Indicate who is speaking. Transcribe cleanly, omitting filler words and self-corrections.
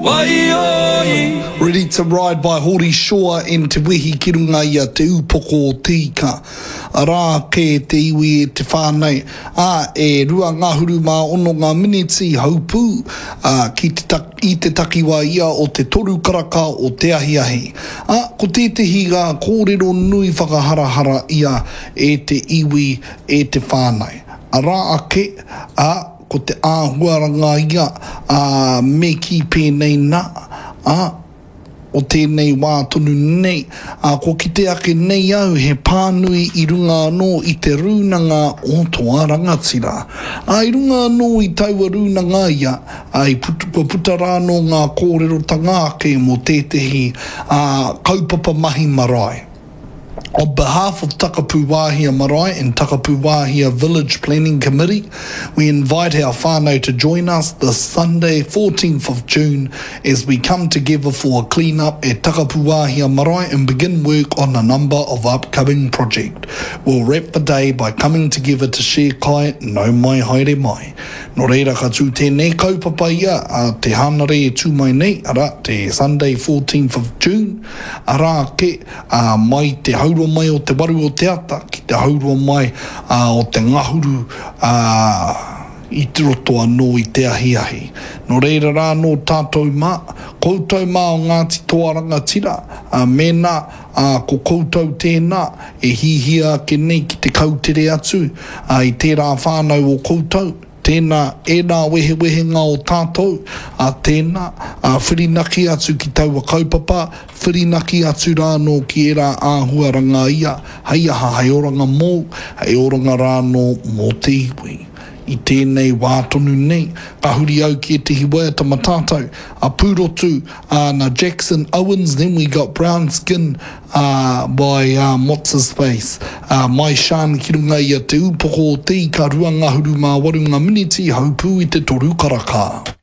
Speaker 1: Waioi.
Speaker 2: Ready to Ride by Hori Shaw and Te Wehi ki runga i a Te Upoko o Te Ika. Arā kē te iwi e te whānau, ā, e 26 ngā miniti haupū, ā, ki te i te takiwā ia o te toru karaka o te ahiahi. Ā, ko tētehi rā kōrero nui whakaharahara ia e te iwi, e te whānau. Arā ake, ā, ko te āhuaranga ia, ā, me kī pēnei nā, ā, o tēnei wā tonu nei, ā, kua kite ake nei au he pānui i runga anō i te rūnanga o Toa Rangatira. Ā, i runga anō i taua rūnanga ia, ā, i puta, kua puta rā anō ngā kōrerotanga ake mō tētehi, ā, kaupapa mahi marae. On behalf of Takapuwāhia Marae and Takapuwāhia Village Planning Committee, we invite our whānau to join us this Sunday, 14th of June, as we come together for a clean-up at Takapuwāhia Marae and begin work on a number of upcoming project. We'll wrap the day by coming together to share kai, nau mai haere mai. Nō reira ka tū tēnei kaupapa ia a te Hānare e tū mai nei, arā, te Sunday 14th of June, arā ake, ā, mai te haurua mai o te waru o te ata ki te haurua mai ā, o te ngahuru, ā, i roto anō i te ahiahi. Nō reira rā anō tātou mā, koutou mā o Ngāti Toa Rangatira, ā, mēnā, ā, ko koutou tēnā e hihia ake nei ki te kautere atu, ā, i tērā whānau o koutou, Tēnā, ērā wehewehenga o tātou, ā, tēnā, ā, whirinaki atu ki taua kaupapa, whirinaki atu rā anō ki ērā āhuaranga ia, hei aha, hei oranga mōu, hei oranga rā anō mō te iwi. I tēnei wā tonu nei, ka huri au ki ētehi waiata ma tātou, a Pūrotu, ā, na Jackson Owens, then we got Brown Skin, ā, by, ā, What's His Face, ā, mai Shan ki runga i a Te Ūpoko o Te Ika 28 ngā miniti haupū i te toru karaka.